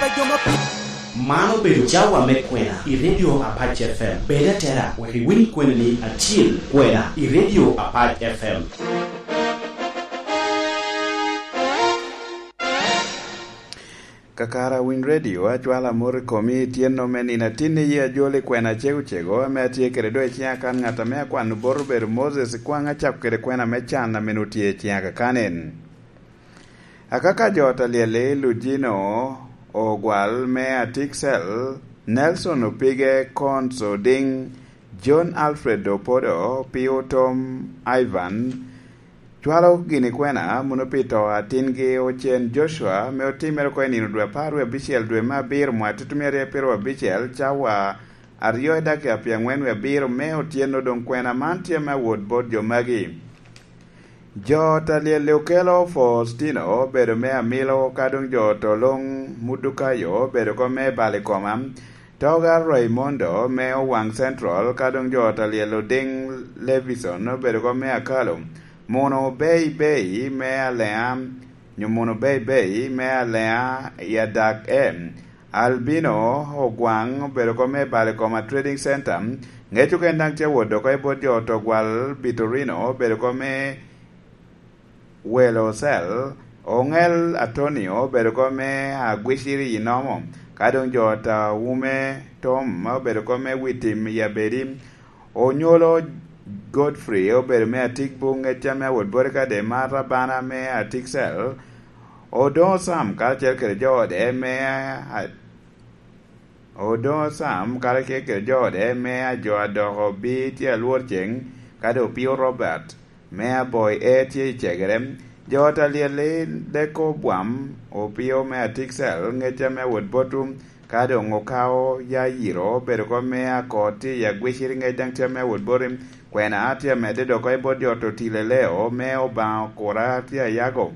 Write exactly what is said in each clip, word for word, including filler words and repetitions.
Man obedo cawa me kwena i Radio Apac F M. Bed atera wek iwiny kwena ni acil kwena i Radio Apac F M. Kakara Winy Radio, acwalo amot i komi i tyenno me nino atinni, yi ajol i kwena cego cego ame atye kede do i ciŋa kan. Ŋat ame akwano bot obedo Moses Kwaŋ, acako kede kwena me can ame nwoŋo tye i ciŋa kakan en. Akaka jo ot alyel-li, Lujino Ogwal me Atiksel, Nelson Opige, Cons Oding, John Alfred Opodo, Pio Tom, Ivan, cwalo gini kwena muno pi to a tingi Ocen Joshua, ame otimere oko i nino dwe apar wie abicel dwe me abiro mwaka tutumia aryo pyeraryo abicel, cawa aryo i dakika pyerangwen wie abiro me otyeno. Doŋ kwena man tye me awot bot jo magi. Jo ot alyel-li okelo Faustino, obedo me Amilo, ka doŋ jo ot Oloŋ Mudukayo, obedo oko me Balikoma, Toga Raimondo me Owaŋ Central, ka doŋ jo ot alyel Oding Levison, obedo oko me Akalo, Muno Bei Bei me Aleŋa, nyo Muno Bei Bei me Aleŋa i Adak M, Albino Ogwaŋ, obedo oko me Balikoma Trading Center. Ŋec oken daŋ tye awot oko i bot jo ot Ogwal Bitorino, obedo oko me Welo Ocel. Oŋel Atonio, obedo oko me Agwiciri i Nomo, ka doŋ jo ot Awume Tom, obedo oko me Witim i Abedi. Onyolo Godfrey, obedo me Atigbu, ŋecca me awot boti ka de mar abana me Atiksel. Odoŋo Sam karacel kede jo ode me a-, Odoŋo Sam karacel kede jo ode me ajo adoko bi tye alwor ceŋ, ka doŋ Opio Robert me Aboi E tye i cegere. Jo ot alyel-li Deko Bwam, Opio me Atiksel, ŋecca me awot botu, ka doŋ Okao Yayiro, obedo oko me Akor tye i Agwiciri, ŋec daŋ tye me awot boti. Kwena tye amedde dok oko i bot jo ot Otileleo me Obaŋa Okura tye Ayago.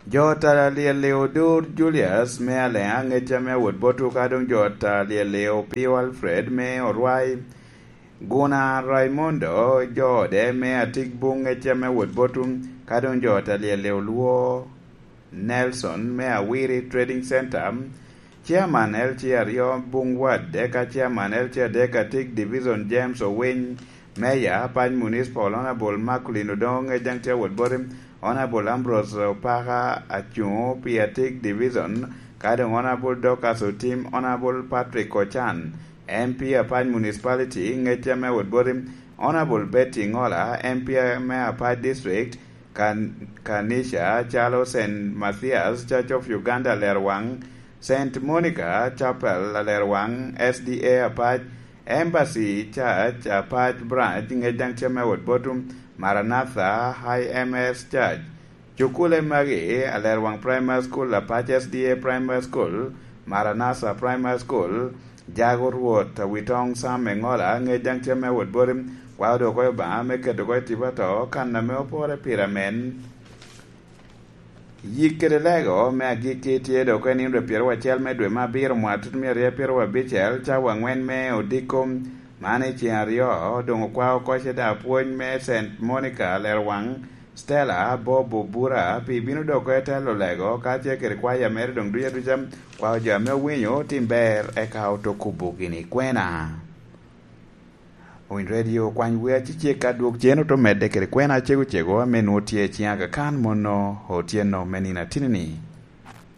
Jo ot alyel-li Odur Julius me Aleŋa, ŋecca me awot botu, ka doŋ jo ot alyel-li Opio Alfred me Orwai, Guna Raimondo, jo ode me Atigbu, ŋecca me awot botu, ka doŋ jo ot alyel-li Olwo Nelson me Awiri Trading Center, Chairman L C aryo Buŋ Wad, eka Chairman L C adek Atik Division James Owiny, Mayor Apac Municipal Honorable Marcolin Odongo, ŋec daŋ tye awot boti, Honorable Ambrose Opaka, acuŋo pi Atik Division, ka doŋ Honorable Dorcas Otim, Honorable Patrick Ochan, M P Apac Municipality, ŋec daŋ me awot boti, Honorable Betty Ngola, M P me Apac District, Kan-, Kanisha calo Saint Matthias Church of Uganda Alerwaŋ, Saint Monica Chapel Alerwaŋ, S D A Apac, Embassy Church Apac Branch, ŋec daŋ tye me awot botu, Maranatha I M S Church. Cukule magi, Alerwaŋ Primary School, Apac S D A Primary School, Maranatha Primary School, Jago Rwot, Awitoŋ Sam Eŋola, ŋec daŋ tye me awot boti, kwao doŋ oko i Obaŋa me keto oko i tipo ato, kan ame opore pire amen. Yik kede lego me agikki tye doŋ oko i nino dwe pyeraryo acel me dwe me abiro mwaka tutumia aryo pyeraryo abicel, cawa aŋwen me odiko. Man i ceŋ aryo, doŋ okwao oko cede apwony me Saint Monica Alerwaŋ, Stella Bob Obura, pi bino doŋ oko i telo lego, kacel kede kwaya mere doŋ duc aduca, kwao jo ame owinyo otim ber, eka oto kubo gini kwena. Owiny Radio okwany wi acecek ka dwok cen oto medde kede kwena cego cego ame nwoŋo tye i ciŋ Aga Khan mono otyeno me nino atinni-ni.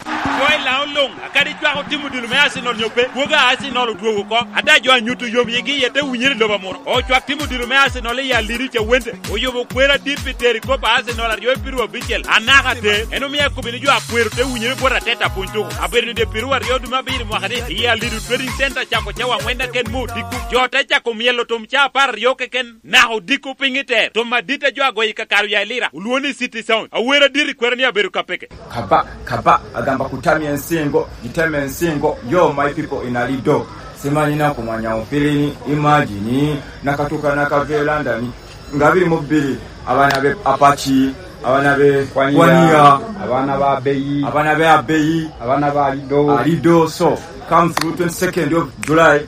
Jo i Laŋo luŋ, akadi cwak otimo dilo me Arsenal nyo pe, kwogo a Arsenal odwogo oko. Ada jo a nyuto yom yigi iye te winyere i lobo amuru. Ocwak timo dilo me Arsenal i Alidu Cawente, oyubo kwer adit pi tero i kop a Arsenal aryo i piru abicel. Anaka te, en omio akobo ni jo a kwero te winyere bot ateta pwony tuko. Abedo ni dye piru aryo dwe me abiro mwaka ni, i Alidu Trading Center cako cawa aŋwen keken me odiko. Jo te cako myelo tom ca apar aryo keken. Naka odiko piny i ter, tom adit a jo agoyo i kakare oya i Lira, olwoŋo ni City Sound. Awer adit i kwero ni abedo ka peke. Kaba, kaba, agamba kutamya ensingo, gitema ensingo, yo my people in Alido. Simanyi na kumanya ofilini, imagine, nakatuka nakavela ndani. Ngabiri mubiri, abana be Apache, abana be Kwania, Kwania, abana ba Abeyi, abana be Abeyi, abana ba Alido. Alido, so, come through twenty-second of July.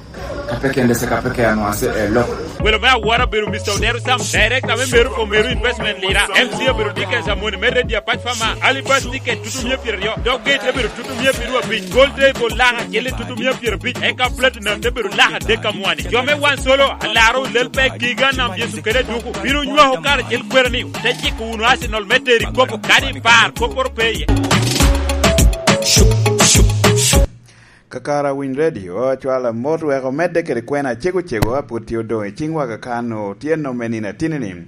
Kapeke ndese kapeke anwase elo. Welo me awora obedo Mister Odero Sam, Director me Meru for Meru Investment Lira, M C obedo Dickens Amoni me Radio Apac Fama, Alibas Ticket tutumia pyeraryo, Dog Gate obedo tutumia pyeraryo abic, Gold Table laka kele tutumia pyerabic, eka Platinum te bedo laka adek amwani. Jo me Wan Solo, alaro lel pe giga nam Yecu kede duku, bino nywako kare cel kwera ni, te ciko wunu Arsenal me teri kopo kadi par kopporo pe iye. Kakara Winy Radio acwalo amot wek omedde kede kwena acego cego a pwod tye odoŋ i ciŋwa kakano tye nom me nino atini-ni.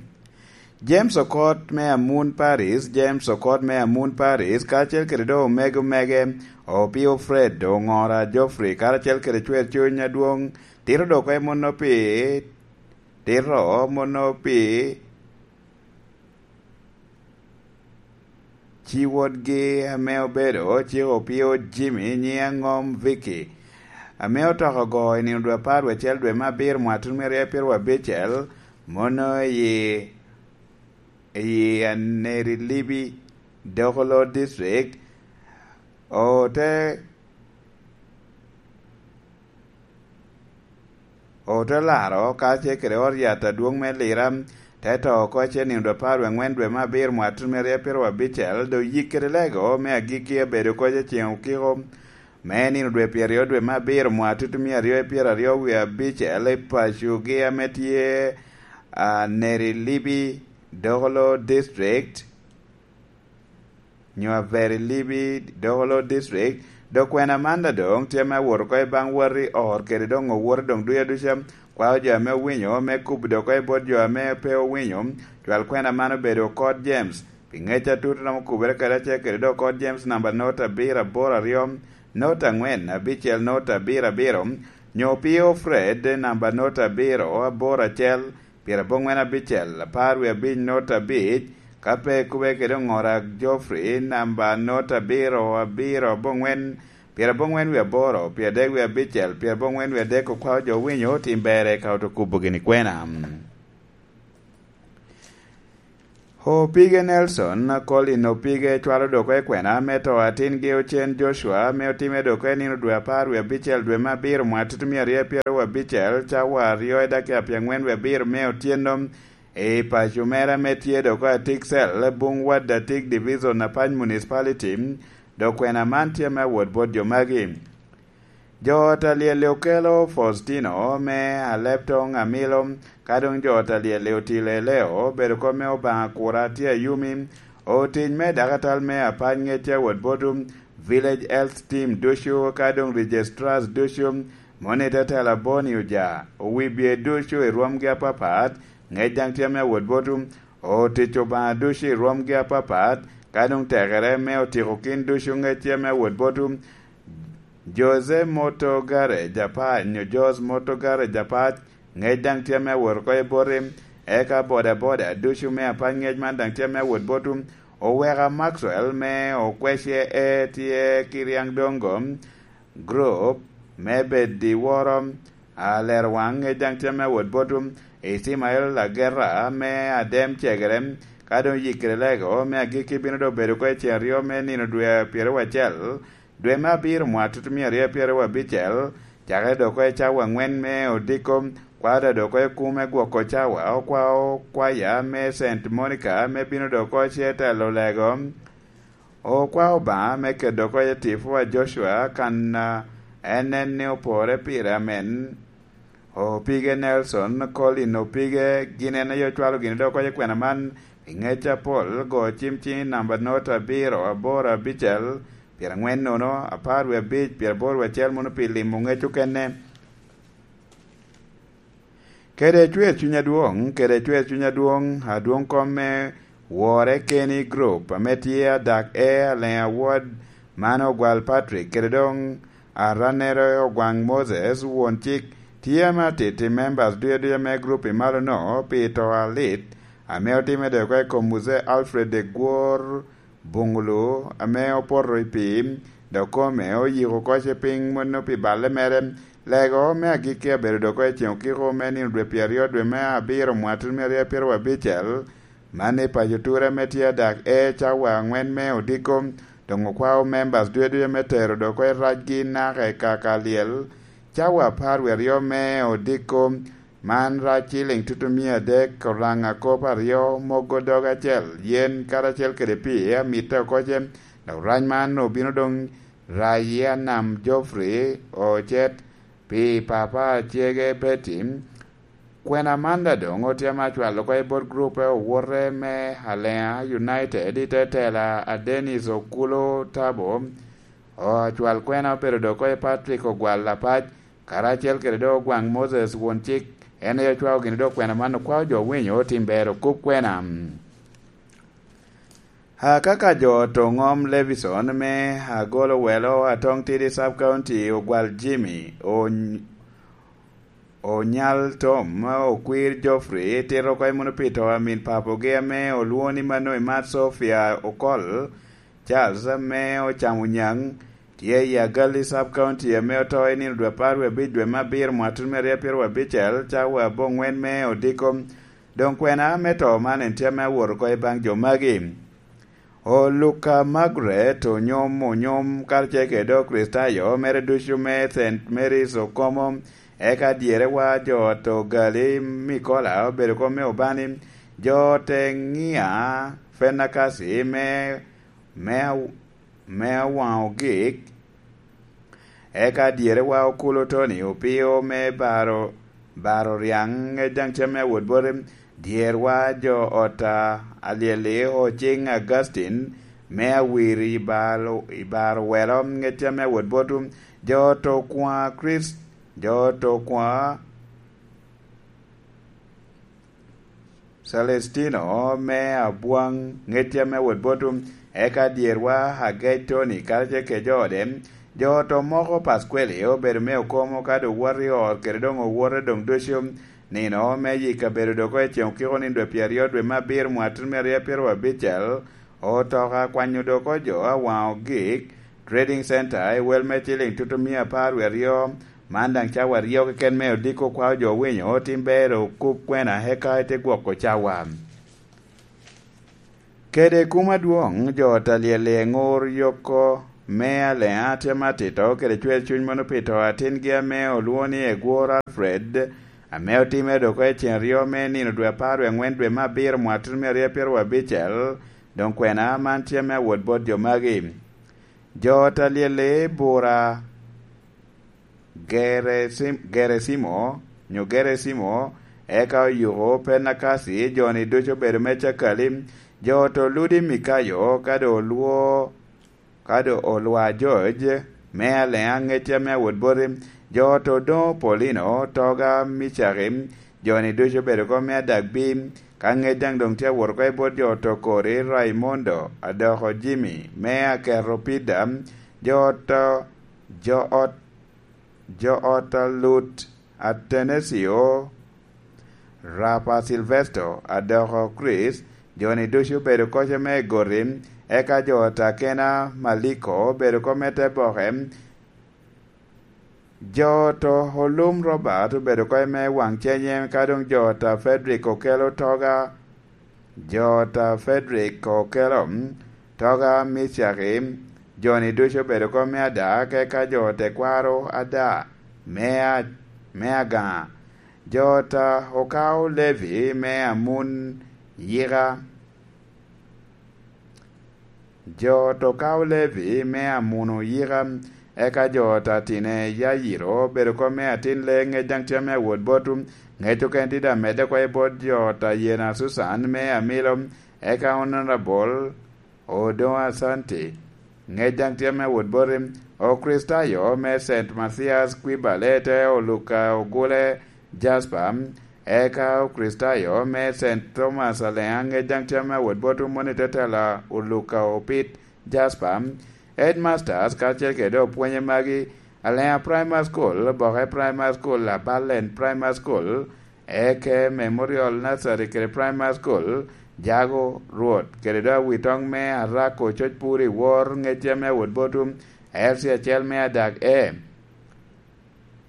James Okot me Amun Paris, James Okot me Amun Paris, kacel kede do omego mege, Opio Fred, Oŋora Geoffrey, karacel kede Cwer Cuny Adwoŋ, tito dok e muno pi, tito muno pi ci wodgi ame obedo cik Opio Jimmy nyiŋe aŋom Vicky, ame otoko ogo i nino dwe apar wiye acel dwe me abiro mwaka tutumia aryo pyeraryo abicel, mono i, i Aneri Libi, Dokolo District, ote Ote laro kacel kede ot yat adwoŋ me Lira, te to oko ce nino dwe apar wie aŋwen dwe me abiro mwaka tutumia aryo pyeraryo abicel, dok yik kede lego me agikki abedo koc i ceŋ okiko me nino dwe pyeraryo dwe me abiro mwaka tutumia aryo pyeraryo wie abicel i pacogi ame tye a Neri Libi, Dokolo District. nyo Averi Libi, Dokolo District, dok kwena aman daŋ doŋ tye me awot oko i baŋ wati or kede doŋ owote doŋ duca duca, kwao jo ame owinyo, me kubo dok oko i bot jo ame pe owinyo, cwal kwena man obedo Okot James, pi ŋec atut romo kubere kede acel kede doŋ Okot James namba nota abiro aboro aryo, nota aŋwen abicel nota abiro abiro, nyo Opio Fred namba nota abiro aboro acel, pyeraboŋwen abicel, apar wie abic nota abic, ka pe ikube kede Oŋora Geoffrey, namba nota abiro, abiro aboŋwen, pyeraboŋwen wie aboro, pyeradek wie abicel, pyeraboŋwen wie adek okwao jo owinyo, tim berre ka oto kubo gini kwena. Opige Nelson, Colin Opige cwalo dok i kwena me to atingi Ocen Joshua, ame otime dok i nino dwe apar wie abicel dwe me abiro mwaka tutumia aryo pyeraryo abicel, cawa aryo i dakika pyeŋwen wie abiro me otyeno, i paco mere ame tye dok i Atiksel, buŋ Wadatig Division, Apac Municipality, dok kwena man tye me awot bot jo magi. Jo ot a lyel-li okelo Faustino me Aleptoŋ Amilo, ka doŋ jo ot a lyel-li otilo Eleo, obedo kop me Obaŋa Kura tye Ayumi, otic me dakatal me Apac Ŋecce Awot Botu, Village Health Team ducu, ka doŋ Registrars ducu, moni te tela Boni Oja, owibye ducu i rwomgi apapat, ŋec daŋ tye me Awot Botu, otic Obaŋa ducu i rwomgi apapat, ka doŋ tekere me otiko kin ducu ŋecce me Awot Botu, Jose Moto Garage Apac, nyo Jos Moto Garage Apac, ŋec daŋ tye me awot oko i boti, eka boda boda ducu me Apac ŋec man daŋ tye me awot botu, oweka Maxwell me Okwece e tye ki Riang Dongo, group me bed i woro, Alero Waŋ ŋec daŋ tye me awot botu, Icimael Ageta me Adem Cegere, ka doŋ yikkere lego me agikki bino doŋ bedo oko i ceng aryo me nino dwe pyeraryo acel, dwe me abiro mwaka tutumia aryo pyeraryo abicel, cakere dok oko i cawa aŋwen me odiko, kwao daŋ dok oko i kume gwoko cawa, okwao kwaya me Saint Monica me bino dok oko ce telo lego. Okwao Obaŋa me keto dok oko i tipo a Joshua kan a en nen ni opore pire amen. Opige Nelson, Colin Opige, gin en aye ocwalo gini dok oko i kwena man, i ŋec apol, go cim ciŋ i namba nota abiro, aboro, abicel, pyeraŋwen nono, apar wie abic, pyeraboro wie acel mono pi limo ŋec okene. Kede cwer cuny adwoŋ, kede cwer cuny adwoŋ, adwoŋ kom me Wore Keni Group, ame tye adak e Aleŋ Award, man Ogwal Patrick, kede doŋ Aranere Ogwaŋ Moses, won cik, tye ame atiti members duya duya me group i malo no pi to alit, ame otimme dok i kom Muzee Alfred Egwor Bungulu, ame opoto i pii, dok kome oyiko oko ce piny mono pi balle mere. Lego me agikki abedo dok i ceŋ okiko me nino dwe pyeraryo dwe me abiro mwaka tutumia aryo pyeraryo abicel, man i paco Ture ame tye adak e cawa aŋwen me odiko, doŋ okwao members duya duya me tero dok i racgi naka i kaka lyel, cawa apar wie aryo me odiko, Man rac ciling tutumia adek, oraŋa kop aryo, mogo dog acel, yen karacel kede pii amitte oko ce. Dok rac man obino doŋ rac i anam Geoffrey Ocet pi papa acege Betty. Kwena man daŋ doŋ otyema acwalo oko i bot gurupe owote me Alea United i te tela a Dennis Okulo Tabo. Acwal kwena obedo doŋ oko i Patrick Ogwal Apac, karacel kede doŋ Ogwaŋ Moses won cik, en aye ocwao gini doŋ kwena man okwao jo winyo otim ber okub kwena. Akaka jo to ŋom Levison me Agolo Welo Atoŋ Tidi Sub County Ogwal Jimmy Ony-, Onyal Tom, okwir Geoffrey, tito oko i Munupito amin papogi ame olwoŋo ni Mano Imat Sofia Okol Charles ame ocamo nyaŋ, tye i Agalli Sub County ame oto i nino dwe apar wie abic dwe me abiro mwaka tutumia aryo apar wie abicel, cawa aboŋwen me odiko. Doŋ kwena me to man en tye ame awot oko i baŋ jo magi. Oluka Margaret onyom onyom karacel kede Okricitayo mere ducu me Saint Mary's Okomo, eka dyere wa jo ot Ogali Mikola obedo kom me Obani, jo te Ŋia Fenakasi me, me, me Awaŋ Ogik, eka dyere wa Okulo Tony Opio me Baro, Baro Ryaŋ, ŋec daŋ cem me awot boti, dyerwa jo ot a Alyeli Ociŋ Augustine me Awir i Baro, i Baro Welo, ŋec cem me awot boti, jo ot Okwaŋ Chris, jo ot Okwaŋ Celestino me Abwaŋ, ŋec cem me awot boti, eka dyerwa Agec Tony karacel kede jo ode, jo ot Omoko Pasqueli obedo me Okomo ka doŋ woto i ot kede doŋ owote doŋ ducu. Nino me yik kabedo doŋ oko i ceŋ okiko nino dwe pyeraryo dwe me abiro mwaka tutumia aryo apar wie abicel, otoka kwanyo doŋ oko jo Awaŋ Ogik Trading Center i wel me ciling tutumia apar wie aryo, man daŋ cawa aryo keken me odiko kwao jo winyo otim ber okub kwena eka ite gwoko cawa. Kede kum adwoŋ, jo ot Alyel i Eŋur Yoko me Alea tye matito kede cwer cuny mono pi to atingi ame olwoŋo ni Egwor Alfred, ame otimere doŋ oko i ceŋ aryo me nino dwe apar wie aŋwen dwe me abiro mwaka tutumia aryo apar wie abicel, doŋ kwena man tye me awot bot jo magi. Jo ot Alyel i Bura Geresim-, Gerecimo, nyo Gerecimo, eka oyuko Penakasi, jo-ni ducu obedo me Cakali, jo ot Oludi Mikayo, ka doŋ olwo, ka doŋ olwa George, me Alea ŋecca me awot boti, jo ot Odoŋo Paulino, Toga Micaki, jo-ni ducu obedo oko me Adagbi, ka ŋec daŋ doŋ tye awot oko i bot jo ot Okori Raimondo, Adoko Jimmy, me Aketo Pida, jo ot, jo ot jo ot a Lut Atenesio, Rapa Silvesto, Adoko Chris, jo-ni ducu obedo oko me Goti, eka jo ot Akena Maliko obedo oko me Teboke, jo ot Olum Robert obedo oko me Waŋ Cenye, ka doŋ jo ot Frederick Okelo Toga, jo ot Frederick Okelo, Toga Micaki, jo-ni ducu obedo oko me Ada, eka jo ot Tekwaro Ada me A-, me Agaŋa, jo ot Okao Levi me Amun Yika, jo ot Okao Levi me Amun Oyika, eka jo ot Atine Yayiro obedo oko me Atin Lee, ŋec daŋ tye me awot bot, ŋec okene tye daŋ medde oko i bot jo ot Ayena Susan me Amilo, eka Honorable Odoŋo Asante, ŋec daŋ tye me awot boti, Okricitayo me Saint Mathias Kwibale te Oluka Ogule Jasper, eka Okricitayo me Saint Thomas Alea, ŋec daŋ tye me awot boti, moni te tela Oluka Opit Jasper, headmasters, kacel kede opwonye magi, Alea Primary School, Boke Primary School, Abalen Primary School, Eke Memorial Nursery kede Primary School, Jago Rwot, kede doŋ awitoŋ me Arako Coc Pur i Wor, ŋec tye me awot boti, L C acel me Adak A,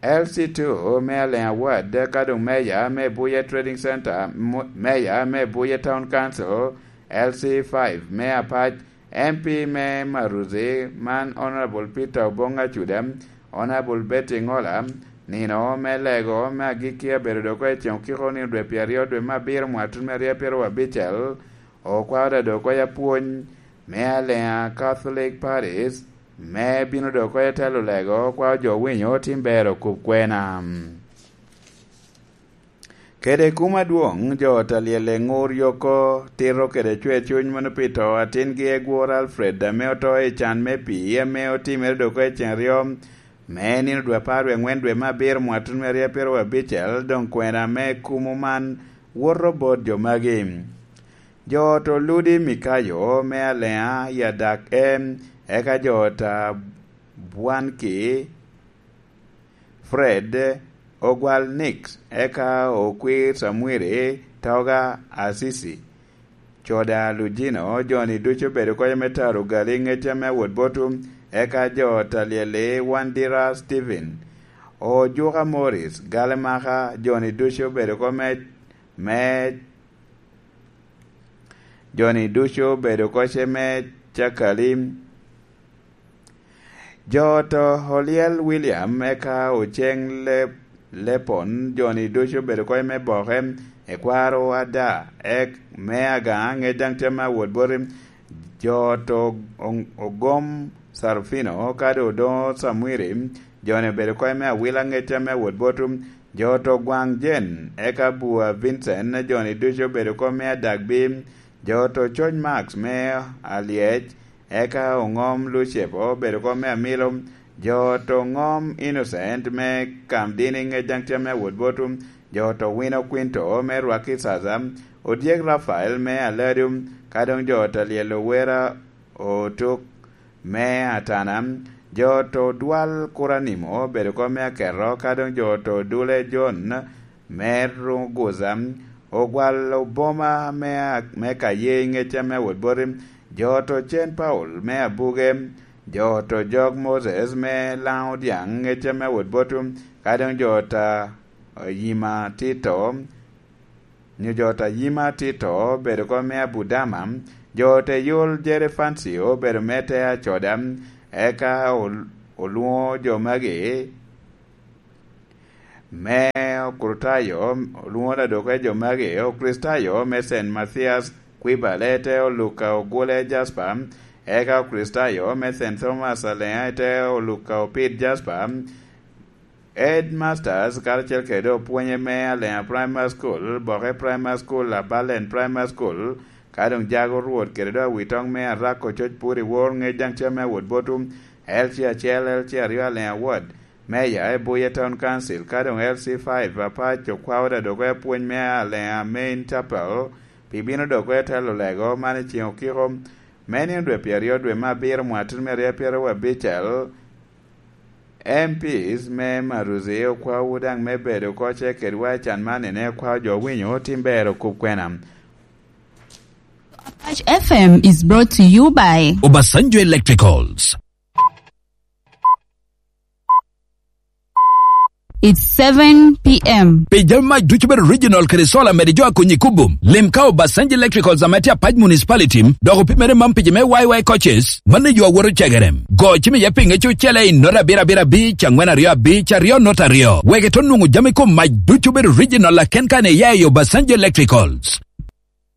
L C two me Alea Ward, ka doŋ Meya me Buye Trading Center, mo-, Meya me Buye Town Council, L C five me Apac, M P me Maruzi, man Honorable Peter Obong Acuda, Honorable Betty Ngola, Nino me lego me agikki abedo dok oko i ceŋ okiko nino dwe pyeraryo dwe me abiro mwaka tutumia aryo pyeraryo abicel, okwao da dok oko i apwony me Aleŋa Catholic Paris, me bino dok oko i telo lego, okwao jo winyo tim ber okub kwena. Kede kum adwoŋ, jo Talyel eŋur yoko tito kede cwer cuny mono pi to atingi egwor Alfred ame oto i can me pii ame otimere dok oko i ceŋ aryo me nino dwe apar wie aŋwen dwe me abiro mwaka tutumia aryo pyeraryo abicel, doŋ kwena me kumo man woto bot jo magi. Jo ot Oludi Mikayo me Aleŋa i adak en, eka jo ot Abwanki Fred, Ogwal Nix, eka Okwir Samwiri, Toga Asisi, Coda Lujino, jo-ni ducu obedo koko me taro gali ŋec ame awot botu, eka jo Talyeli, Wandira Stephen, Ojuka Morris, Galemaka, jo-ni ducu obedo koko me, me, jo-ni ducu obedo koko me Cakali. Jo oto Olyel William, eka Oceŋ Le-, Lepon, jo-ni ducu obedo koko me boke, ekwaro Ada, ek me Agaŋa, ŋec daŋ tye me awot boti. Jo oto Oŋ-, Ogom Sarufino, kadi Odoŋo Samwiri, jo-ni obedo koko me awila, ŋec tye me awot botu. Jo oto Gwaŋ Jen, eka Bua Vincent, jo-ni ducu obedo koko me adagbi. Jo oto Coc Max me Alyec, eka Oŋom Lucepo obedo koko me amilo. Jo oto Oŋom Innocent me Kamdini, ŋec daŋ tye me awot botu. Jo oto Wino Kwinto me Rwaki Caca, Odyek Rafael me Aladu, ka doŋ jo oto Alyel Owera Otuk me Atana. Jo oto Dwal Kuranimo obedo koko me Aketo, ka doŋ jo oto Dule Jon me Ruguza, Ogwal Oboma me, me Kaye, ŋec tye me awot boti. Jo oto Cen Paul me Abuge, jo oto Jok Moses me Laŋo Dyaŋ, ŋec tye me awot botu, ka doŋ jo oto Yima Tito, nyo jo oto Yima Tito obedo koko me Abudama, jo oto Yol Jere Fancy obedo me te Acoda, eka ol-, olwoŋo jo magi me Okritayo, olwoŋo ladok e jo magi, Okritayo me Saint Mathias Kwibale, te Oluka Ogule Jasper, eka Okritayo me Saint Thomas Aleŋa, te Oluka Opid Jasper, Headmasters, karacel kede opwonye me Aleŋa Primary School, Boke Primary School, Abalen Primary School, ka doŋ jago Rwot kede doŋ awitoŋ me Arako Coc Puri Wor, ŋec daŋ tye me awot botu, L C acel, L C aryo Aleŋa Ward, Meya, Ebuye Town Council, ka doŋ L C five, Apac okwao da dok oko i apwony me Aleŋa Main Chapel, pi bino dok oko i telo lego man i ceŋ okiko, me nino dwe pyeraryo dwe me abiro mwaka tutumia aryo pyeraryo abicel, M Ps me Maruzi okwaowu daŋ me bedo oko ce kedwa i can man, ene okwao jo winyo tim ber okub kwena. Apac F M is brought to you by Obasanjo Electricals. It's seven p.m. Pi jami mac ducu bedo original kede solar, mede jo akonyi kubo. Lim ka Obasanjo Electricals ame tye Apac Municipality, dok opimere man pi jo me Y Y coaches. Mano yo awoto cegere. Go cim iye pinge cucele i nota abiro abiro abic, angwen aryo abic, aryo nota aryo. Wek ito nwoŋo jami kom mac ducu bedo original aken kan iya i Obasanjo Electricals.